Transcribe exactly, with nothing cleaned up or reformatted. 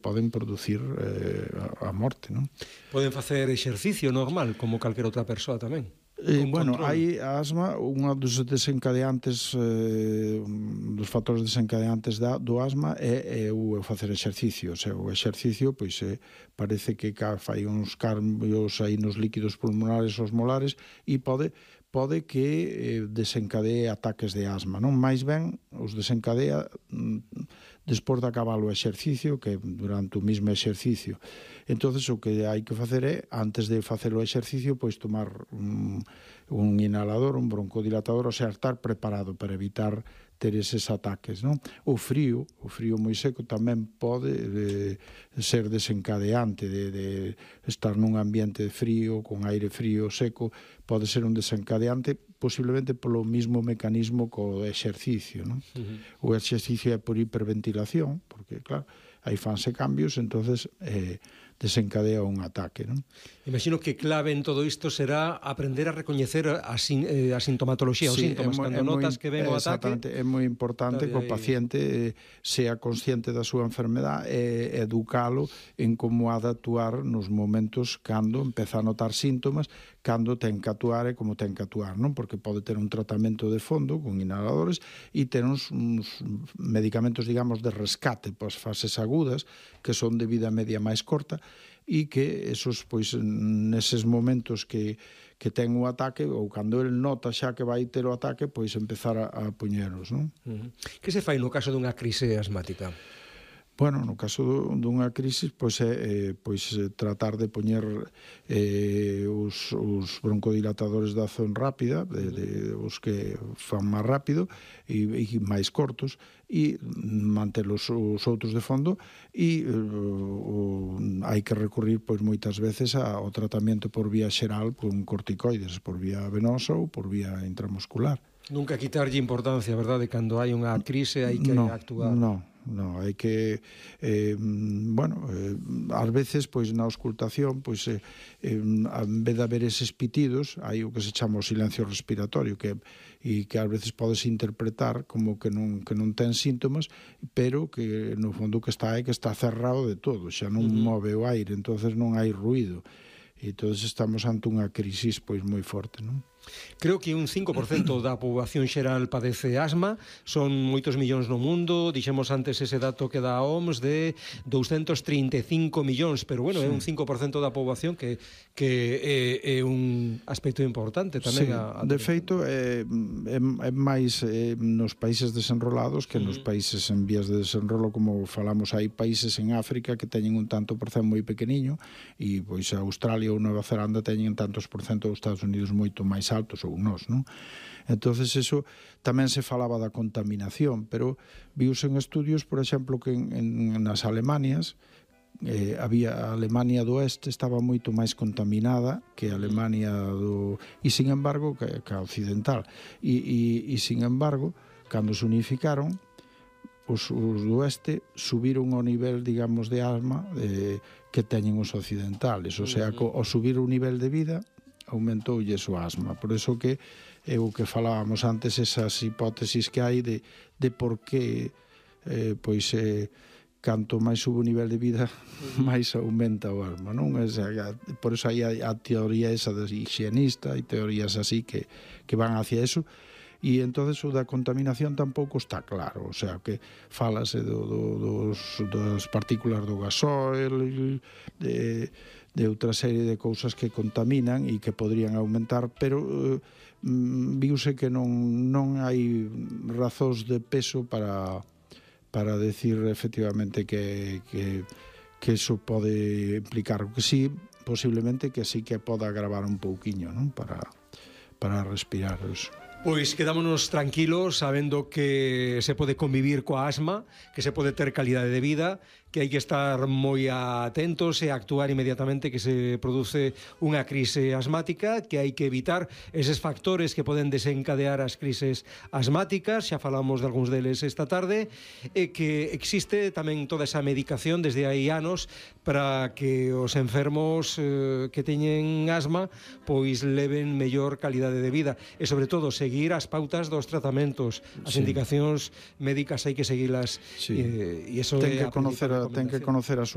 poden producir eh, a morte, non? Poden facer exercicio normal, como calquera outra persoa tamén? Eh, bueno, hai a asma, unha dos desencadeantes eh, dos factores desencadeantes da, do asma é, é o facer exercicio. O sea, o exercicio, pois, eh, parece que fai uns cambios aí nos líquidos pulmonares osmolares e pode pode que eh, desencadee ataques de asma, non? Mais ben, os desencadea mm, despois de acabar o exercicio, que durante o mesmo exercicio. Entonces, o que hai que facer é, antes de facer o exercicio, pois tomar un, un inhalador, un broncodilatador, o sea, estar preparado para evitar ter eses ataques, non? O frío, o frío moi seco tamén pode de, ser desencadeante de, de estar nun ambiente frío, con aire frío, seco, pode ser un desencadeante posiblemente polo mismo mecanismo co exercicio, non? Uh-huh. O exercicio é por hiperventilación, porque, claro, aí fanse cambios, entonces eh, desencadea un ataque, non? Imagino que clave en todo isto será aprender a recoñecer a, sin, eh, a sintomatoloxía, sí, os síntomas, moi, cando notas moi, que ven o ataque. É moi importante que o paciente sea consciente da súa enfermedade e educalo en como ha de actuar nos momentos cando empeza a notar síntomas, cando ten que actuar e como ten que actuar, non? Porque pode ter un tratamento de fondo con inhaladores e ter uns, uns medicamentos, digamos, de rescate para as fases agudas, que son de vida media máis corta, e que esos, pois, neses momentos que, que ten o ataque, ou cando el nota xa que vai ter o ataque, pois empezar a, a poñeros, non? Uh-huh. Que se fai no caso dunha crise asmática? Bueno, no caso dunha crise, pois é eh, pois, tratar de poñer eh, os, os broncodilatadores de acción rápida, de, de, os que fan máis rápido e, e máis cortos, e manter os, os outros de fondo, e eh, o, hai que recurrir pois moitas veces ao tratamento por vía xeral con corticoides, por vía venosa ou por vía intramuscular. Nunca quitarlle importancia, verdade? Cando hai unha crise hai que no, actuar. Non, non, hai que eh, bueno, eh, ás veces pois na auscultación, pois eh, eh, en vez de haber eses pitidos, hai o que se chama o silencio respiratorio, que e que ás veces podes interpretar como que non que non ten síntomas, pero que no fondo que está é que está cerrado de todo, xa non uh-huh. move o aire, entonces non hai ruído. E todos estamos ante unha crisis pois moi forte, non? Creo que un cinco por cento da poboación xeral padece asma, son moitos millóns no mundo, dixemos antes ese dato que dá a O M S de douscentos trinta e cinco millóns, pero bueno, sí. É un cinco por cento da poboación que, que é, é un aspecto importante tamén. Sí, a, a de feito, é, é, é máis é, nos países desenrolados que nos países en vías de desenrolo, como falamos, hai países en África que teñen un tanto por cento moi pequeniño, e pois a Australia ou Nova Zelanda teñen tantos por cento, os Estados Unidos moito máis altos, ou nós, non? Entonces, eso tamén se falaba da contaminación, pero viuse en estudios, por exemplo, que en, en nas Alemanias eh, había a Alemania do Oeste estaba moito máis contaminada que a Alemania do... e, sin embargo, que, que a occidental. E, e, e, sin embargo, cando se unificaron, os, os do Oeste subiron o nivel, digamos, de asma eh, que teñen os occidentales. O sea, co, ao subir o nivel de vida aumentoulle o asma. Por eso que é o que falábamos antes, esas hipótesis que hai de, de por que eh, pois eh, canto máis sube o nivel de vida máis aumenta o asma, non? Esa, por eso hai a, a teoría esa de higienista e teorías así que, que van hacia eso. E entonces o da contaminación tampouco está claro, o sea, que falase do, do, dos, das partículas do gasóil, de, de outra serie de cousas que contaminan e que podrían aumentar, pero eh, viuse que non, non hai razóns de peso para, para decir efectivamente que, que, que eso pode implicar, que sí, posiblemente que sí que poda agravar un pouquiño, non? Para, para respirar eso. Pois quedámonos tranquilos sabendo que se pode convivir coa asma, que se pode ter calidade de vida, que hai que estar moi atentos e actuar inmediatamente que se produce unha crise asmática, que hai que evitar eses factores que poden desencadear as crises asmáticas, xa falamos de algúns deles esta tarde, e que existe tamén toda esa medicación desde hai anos para que os enfermos eh, que teñen asma pois leven mellor calidade de vida e sobre todo seguir as pautas dos tratamentos, as sí. indicacións médicas hai que seguilas, sí. e, e eso ten é que conocer a, ten que conocer a súa